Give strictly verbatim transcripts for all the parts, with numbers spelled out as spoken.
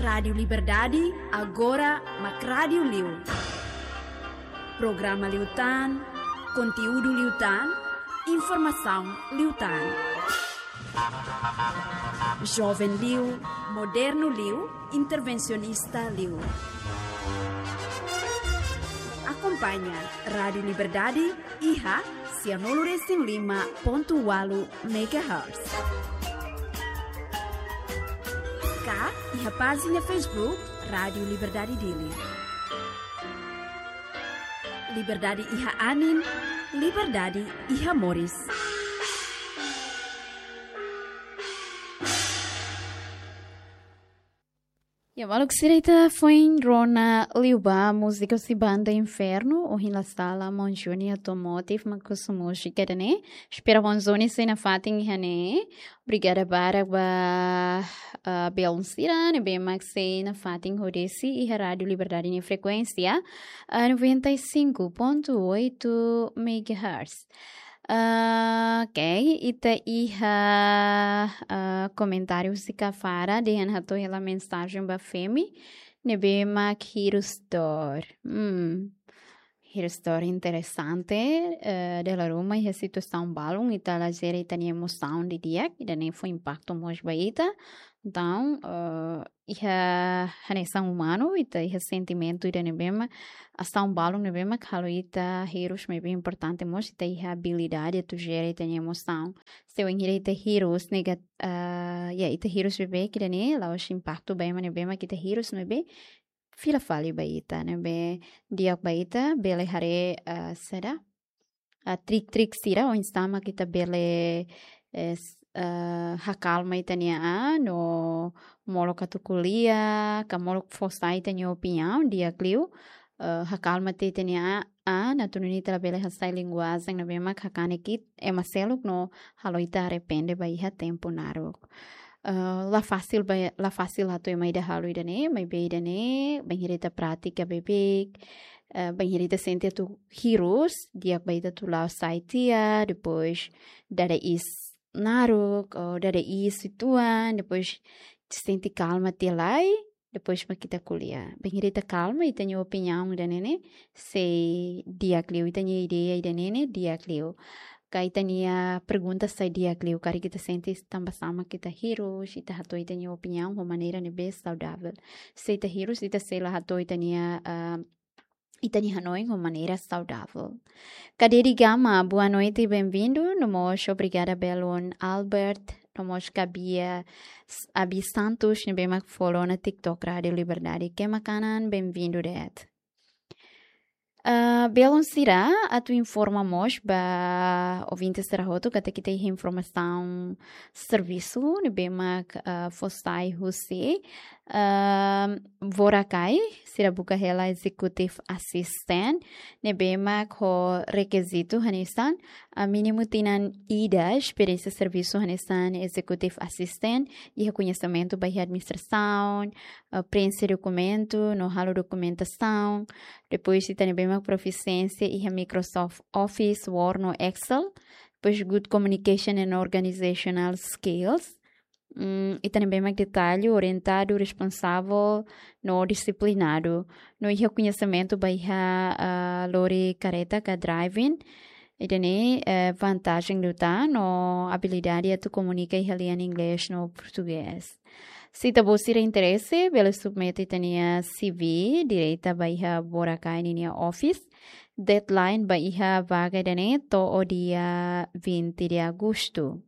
Rádiu Liberdade, agora mak rádiu liu. Programa liután, konteúdu liután, informasaun liután. Joven liu, modernu liu, intervensionista liu. Akompaña Rádiu Liberdade iha sianulu resin lima pontu ualu megahertz. Ka iha pájina Facebook Rádiu Liberdade Dili. Liberdade iha anin, liberdade iha moris. Ya, maluk sira, ita foin rona liubá múzika husi Banda Inferno, Ohin La Sala, Maun Júnior Automotive, mak husu múzika ida-ne'e. Espera Maun Júnior sei nafatin iha ne'e. Obrigada barak ba, ah, belun sira ne'ebé mak sei nafatin hodi sira iha Rádiu Liberdade nia frekuénsia, ah, noventa e cinco ponto oito megahertz. Ah, ok, ita iha, ah, komentáriu husi Kafara, dehan hato'o hela mensajen ba Femi ne'ebé mak hirus dor. Hmm. Hirus dor interesante, eh, dala ruma iha situasaun balun ita la jere ita-nia emosaun didi'ak, ida-ne'e fó impaktu mós ba ita. Entaun, eh, iha hanesan umanu, ita iha sentimentu ida ne'ebé mak, asaun balun ne'ebé mak halo ita hirus, maibé importante mós ita iha abilidade atu jere ita-nia emosaun. Se wainhira ita hirus negat-, ah, ya, ita hirus beibeik ida-ne'e, la'ós impaktu ba ema ne'ebé mak ita hirus, maibé fila fali ba ita, ne'ebé di'ak ba ita, bele haree, ah, saida, ah, trik-trik sira oinsá mak ita bele, eh, s-, ah, hakalma ita-nia an, no molok atu ko'alia, ka molok fó sai ita-nia opiniaun, di'ak liu, eh, hakalma tiha ita-nia an, atu nune'e ita labele hasai linguajen ne'ebé mak hakanek ita, ema seluk no halo ita arrepende ba iha tempu naruk. Eh, la fasil ba, la fasil atu ema ida halo ida-ne'e, maibé ida-ne'e, bainhira ita pratika beibeik, eh, bainhira ita sente atu hirus, di'ak ba ita atu la'o sai tiha, depois dada iis naruk, ou dada iis uitoan, depois sente kalma tiha lai, depois mak ita ko'alia. Bainhira ita kalma, ita-nia opiniaun ida-ne'e ne'e sei di'ak liu, ita-nia ideia ida-ne'e ne'e di'ak liu. Ka ita-nia pergunta sai di'ak liu, karik ita sente tanba sá mak ita hirus, ita hato'o ita-nia opiniaun ho maneira ne'ebé saudavel. Se ita hirus, ita sei la hato'o ita-nia, ah, ita-nia hanoin ho maneira saudavel. Kadedi Gama, boa noite, bem-vindo. No mós obrigada belun Albert, no mós Kabia S-, Abi Santos, ne'ebé mak follow ona TikTok Rádiu Liberdade. Kemakanan, bem-vindo de'it. Ah, belun sira, atu informa mós ba ouvinte sira hotu katak ita iha informasaun servisu ne'ebé mak, ah, fó sai husi, ah, Boracay, sira buka hela executive assistant, ne'ebé mak ho rekizitu hanesan, ah, mínimu tinan ida esperiénsia servisu hanesan executive assistant, iha koñesimentu ba iha administrasaun, ah, preenxe dokumentu, no halo dokumentasaun. Depois, ita ne'ebé mak profisiénsia iha Microsoft Office, Word no Excel. Depois, good communication and organizational skills. Mm, ita ne'ebé mak detallu, orientadu, responsavel, no disiplinadu. No iha koñesimentu ba iha, ah, lori karreta ka driving. Ida-ne'e, eh, vantajen liután no abilidade atu komunika iha lian inglés no portugés. Se ita-boot sira interese, bele submete ita-nia C V direta ba iha Boracay ninia office. Deadline ba iha vaga ida-ne'e to'o dia vinte de agosto.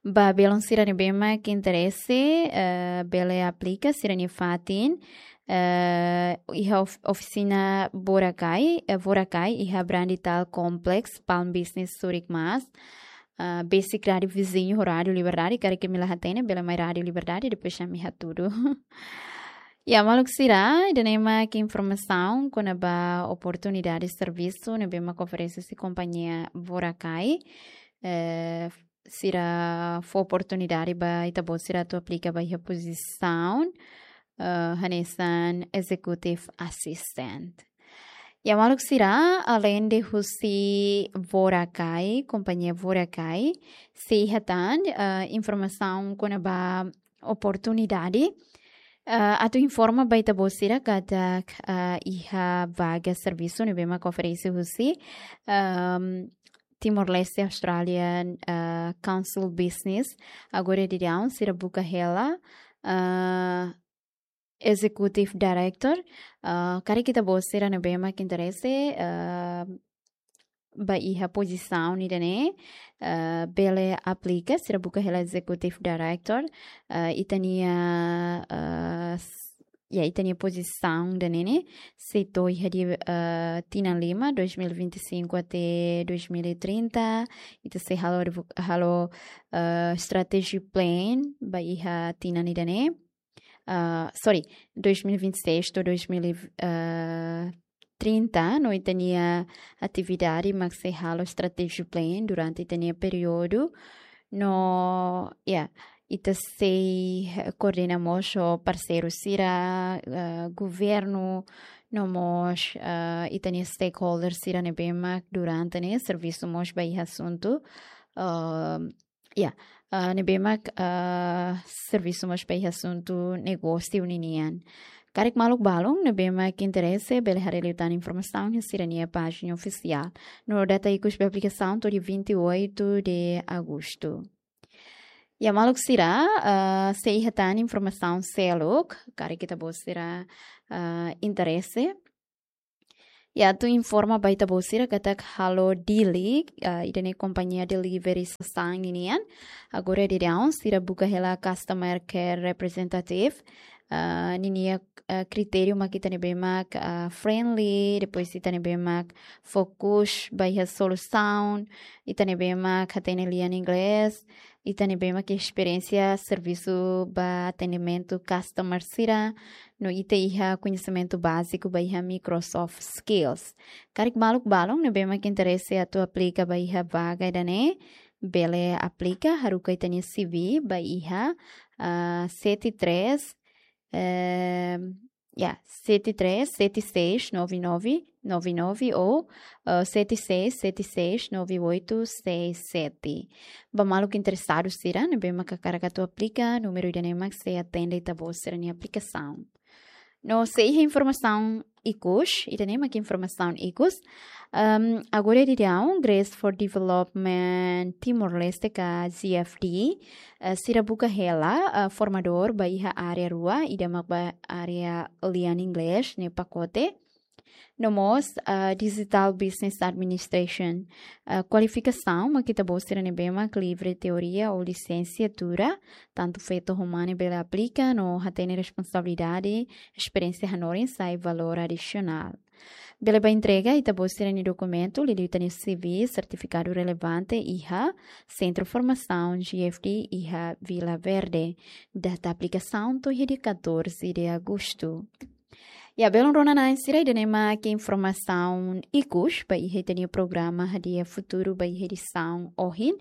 Ba belun sira ne'ebé mak interese, eh, bele aplika sira-nia fatin, eh, iha of-, ofisina Boracay, eh, Boracay, iha Brandital Complex, Palm Business, Zurich, Maas. Ah, besik rádiu viziñu ho Rádiu Liberdade, karik imi la hatene, bele mai Rádiu Liberdade, depois ami hatudu. Ya, maluk sira, ida-ne'e mak informasaun kona-ba oportunidade servisu ne'ebé mak oferese husi kompañia Boracay. Eh, sira fó oportunidade ba ita-boot sira atu aplika ba iha pozisaun, eh, hanesan executive assistant. Ya, maluk sira, aleinde husi Boracay, kompañia Boracay, sei iha tan, eh, informasaun kona-ba oportunidade Ah, atu informa ba ita-boot sira katak, ah, iha vaga servisu ne'ebé mak oferese husi, ehm, Timor-Leste Australian, ah, Council Business. Agora daudaun sira buka hela, ah, Executive Director. Ah, karik ita-boot sira ne'ebé mak interese, ah, ba iha pozisaun ida-ne'e, ah, bele aplika, sira buka hela Executive Director, ah, ita-nia, ah, s-, ya, ita-nia pozisaun ida-ne'e ne'e sei to'o iha tinan, ah, tinan lima, dois mil e vinte e cinco até dois mil e trinta, ita sei halo revo-, halo, ah, strategy plan ba iha tinan ida-ne'e. Ah, sorry, dois mil e vinte e seis to'o dois mil e trinta, no ita-nia atividade mak sei halo strategy plan durante ita-nia períodu. No, ya, ita sei, eh, koordena mós ho parseiru sira, eh, governu, no mós, eh, ita-nia stakeholder sira ne'ebé mak durante ne'e servisu mós ba iha asuntu, eh, ya, eh, ne'ebé mak, eh, servisu mós ba iha asuntu negósiu ninian. Karik maluk balun ne'ebé mak interese bele haree liután informasaun iha sira-nia pájina ofisiál. No data ikus ba aplikasaun to'o dia vinte e oito de agosto. Ya, maluk sira, ah, se iha tan informasaun seluk, karik ita-boot sira, ah, interese. Ya, atu informa ba ita-boot sira katak Halo Dili, ah, ida-ne'e kompañia delivery sasán ninian. Agora daudaun sira buka hela customer care representative. Ah, ninia, ah, kritériu mak ita ne'ebé mak, ah, friendly, depois ita ne'ebé mak fokus ba iha solusaun, ita ne'ebé mak hatene lian inglés, ita ne'ebé mak esperiénsia servisu ba atendimentu customer sira, no ita iha koñesimentu báziku ba iha Microsoft Skills. Karik maluk balun ne'ebé mak interese atu aplika ba iha vaga ida-ne'e, bele aplika, haruka ita-nia C V ba iha, ah, sete três, eh, ya, sete três sete seis nove nove nove nove ou, eh, sete seis sete seis nove oito seis sete. Ba maluk interesadu sira ne'ebé mak hakarak atu aplika, númeru ida-ne'e mak sei atende ita-boot sira-nia aplikasaun. No se iha informasaun ikus, ida-ne'e mak informasaun ikus. Ehm, agora daudaun, Grace for Development Timor-Leste ka G F D, eh, sira buka hela, eh, formadór ba iha área rua, ida mak ba área lian inglés ne'e pakote. No mós, eh, Digital Business Administration, eh, kualifikasaun mak ita-boot sira ne'ebé mak livre teoria ou lisensiatura, tantu feto ho mane bele aplika, no hatene responsabilidade, esperiénsia hanorin sai valór adisionál. Bele ba entrega ita-boot sira-nia dokumentu, liuliu ita-nia C V, sertifikadu relevante iha Sentru Formasaun G F D iha Vila Verde. Data aplikasaun to'o iha dia catorze de agosto. Ya, belun rona-na'in sira, ida-ne'e mak informasaun ikus ba iha ita-nia programa Hadi'a Futuru ba iha edisaun ohin.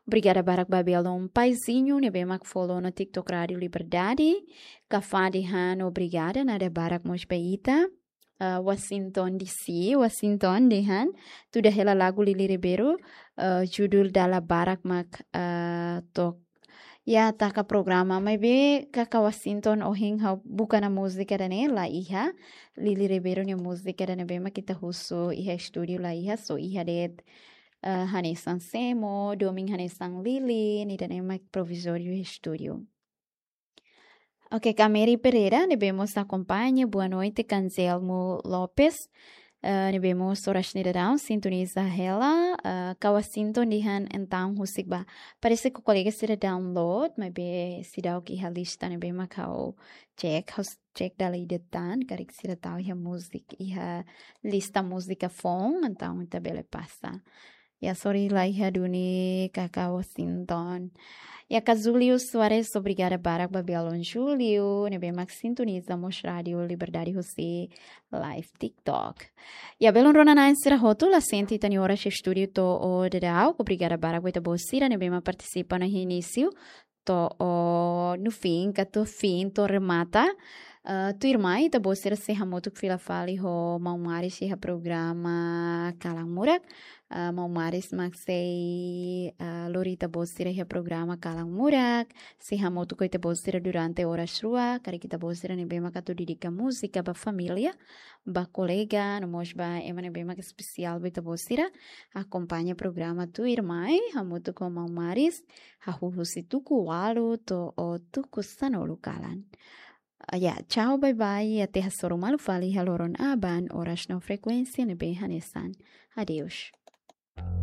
Obrigada barak ba belun Paizinho ne'ebé mak follow ona TikTok Rádio Liberdade. Kafá dehan obrigada, nada barak mós ba ita. Ah, Washington D C, Washington dehan tuda hela lagu Lili Ribeiro, ah, judul Dala Barak mak, ah, to'o iha taka programa, maibé kaka Washington, ohin ha'u buka ona múzika ida-ne'e la iha. Lili Ribeiro nia múzika ida-ne'ebé mak ita husu iha estúdiu la iha, só iha de'it, eh, hanesan Semo, domin hanesan Lili, nia ida-ne'e mak provizóriu iha estúdiu. Oke, Kameri Pereira ne'ebé mós akompaña, boa noite, Kanzelmo Lopes. Eh, ne'ebé mós oras ne'e daudaun sintoniza hela, eh, kaka Washington dehan entaun husik ba. Parese ke kolega sira download, maibé seidauk iha lista ne'ebé mak ha'u cek, ha'u cek dala ida tan, karik sira tau iha múzika, iha lista múzika foun, entaun ita bele pasa. Ya, sorry la iha duni kaka Washington. Ya, kaka Julio Soares, obrigada barak ba belun Julio ne'ebé mak sintoniza mós Rádio Liberdade husi live TikTok. Ya, belun rona-na'in sira hotu, la sente ita-nia oras estúdiu to'o daudaun. Obrigada barak ba ita-boot sira ne'ebé mak partisipa ona iha inísiu to'o, no fim, ka to'o fim, to'o remata. Ah, tuirmai ita-boot sira sei hamutuk fila fali ho maun Maris iha programa Kalan Murak. Ah, maun Maris mak sei, ah, lori ita-boot sira iha programa Kalan Murak. Sei hamutuk ho ita-boot sira durante oras rua, karik ita-boot sira ne'ebé mak atu dedika múzika ba família, ba kolega, no mós ba ema ne'ebé mak espesiál ba ita-boot sira. Akompaña programa tuirmai, hamutuk ho maun Maris, hahú husi tuku ualu to'o tuku sanulu kalan. Ah, ya, tchau, bye bye, até hasoru malu fali iha loron aban, oras no frekuénsia ne'ebé hanesan. Adeus.